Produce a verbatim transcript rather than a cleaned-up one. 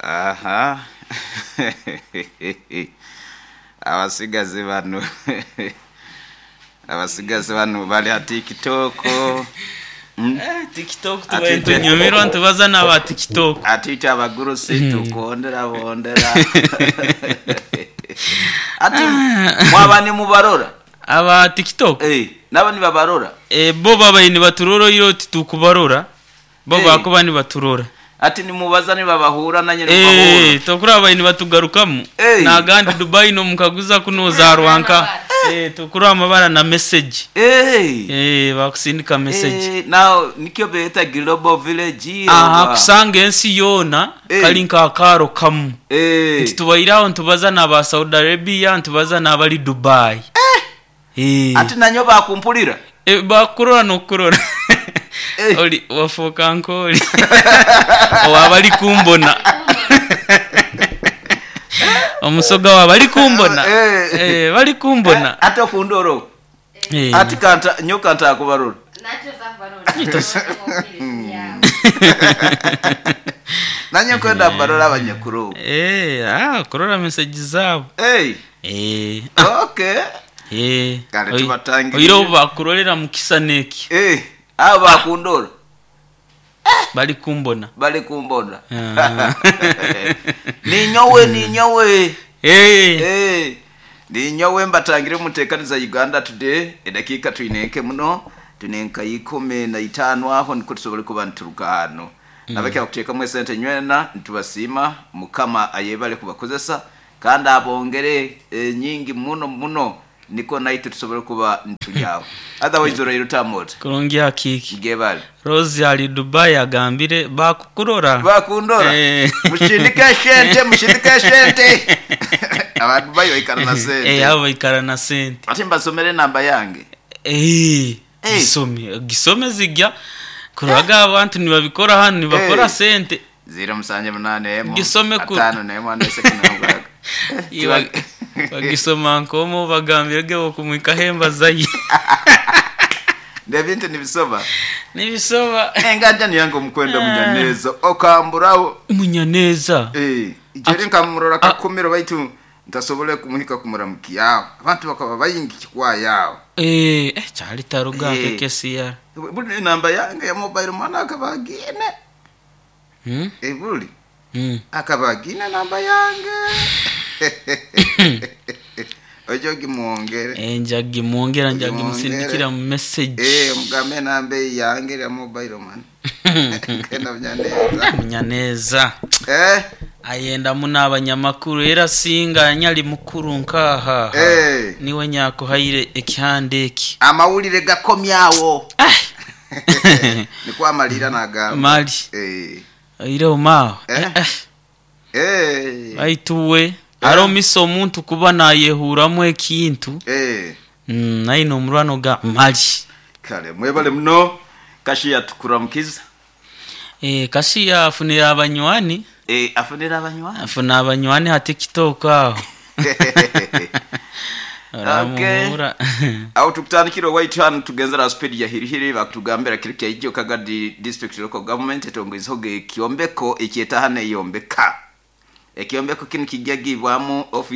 Aha, abasigazi bano abasigazi bano bali ha TikTok. Mm. Eh, TikTok Ati tubaye te- ntunyumirwa ntubaza n'aba TikTok. Ati abagurusi tukondera bondera, ati mwaba nimubarora. Aba TikTok. Eh, nabo nibabarora. Eh, bo babaye nibaturora iro titukubarora bo. Eh. Bakuba nibaturora. Ati nimubaza nibabahura nanye nibahura. Eh, tokura abaye nibatugarukamu. Eh. Nagandi Dubai no mukaguza kuno zarwanka, eh, tukura amabara na message. Eh. Eh, bakusindika message. Eh, now nikyo beeta global village. Aha. Oba. Kusanga ensi yoona. Eh. Kali nk'akaaro kamu. Eh. Nti tubairaho ntubaza n'aba Saudi Arabia, ntubaza n'abali Dubai, eh. Ati nanyo bakumpulira. Eh, bakurora nokurora. Eh. Oli wafuuka nkoli owaba ali kumbona, omusoga waaba ali kumbona. Eh. Eh, bali kumbona. Ate okundoro. Eh. Ati kanta nyo kanta akubarora. Nanye kwenda mbarora abanyakuru. Eh, ah, kurora message zaabo. Hey. Eh, okay. eh. Kale Oi- tubatangirire. oiro bakurorera mukisa neki. Eh, abo bakundora. Bali kumbona. Bali kumbona. Ah. Ninyowe, ninyowe. Eh. Eh, ninyowe mbatangire mutekaniza Uganda Today. Edakiika twinenke muno, twinenka ikumi na itaano aho niko tusobole kuba nituruka hano mm. Nabakya kuteekamu esente nywena, nitubasiima. Mukama ayebale kubakozesa kandi abongere e, nyingi muno muno, niko naitwe tusobole kuba nitulyaho. Otherwise orairo tamota. Kurungi hakiki. Ngebale. Rose ali Dubai agambire bakukurora. Bakundora. Eh. Mushindike esente, mushindike esente, abantu bayo ikara na sente. Eh, abo baikara na sente. Ate mbasomere enamba yange. Eh, Eh. gisome gisome zijya kuraga abantu nibabikora hano nibakora Eh. sente. Ziro musanje munane emo Gisome ku- atano nemo ane sekuna mukaga. Iba- bagisoma nkomo bagambire ge bokumwika hemba zayi. Ndebintu nibisoma. Nibisoba. Enganja niyange omukwenda Munyaneza okamburawo. Munyaneza. Eh, ijeri nkamurora kakumiro baitu ntasobole kumuhika kumuramukiyawo, abantu bakaba bayingi kikwayawo. Eh, eh, kyali taruga. Eh. Kekesiya. Buli enamba yange ya mobile mwana akaba agine. Hmm? Eh, buli Hmm. akaba agine namba yange, ojo gimwongere. Eh, njagi mwongera, njagi Mwongere. musindikira mu message. Eh, mugambe enamba yange ya mobile man kenda Munyaneza. Munyaneza. Eh. Ayenda muno abanyamakuru era singa nyali mukuru nkaha. Eh. Niwe nyakuhaire ekihanda eki. Amawulire gakomyawo niko amalira nagamba. Mali. Eh. Oireho maawe. Eh. Eh, Eh. baituwe aromisa omuntu kuba nayehuramu ekintu. Eh. Mm, naine omurwano ga mali. Kale mwebale muno, kashiya tukuramukiza. Eh, kashiya afunira abanywani. Eh, afunira abanywani. Afuna abanywani ha TikTok aho. Okay. Oramuhura. Aho tukutandikira owaitu hano tugenzera speed ya hirihiri, bakutugambira kiri kyaijo Kagadi District Local Government etongwizeho ekyombeko ekyetahana eyombeka ekyombeko kinu kijagibwamu office.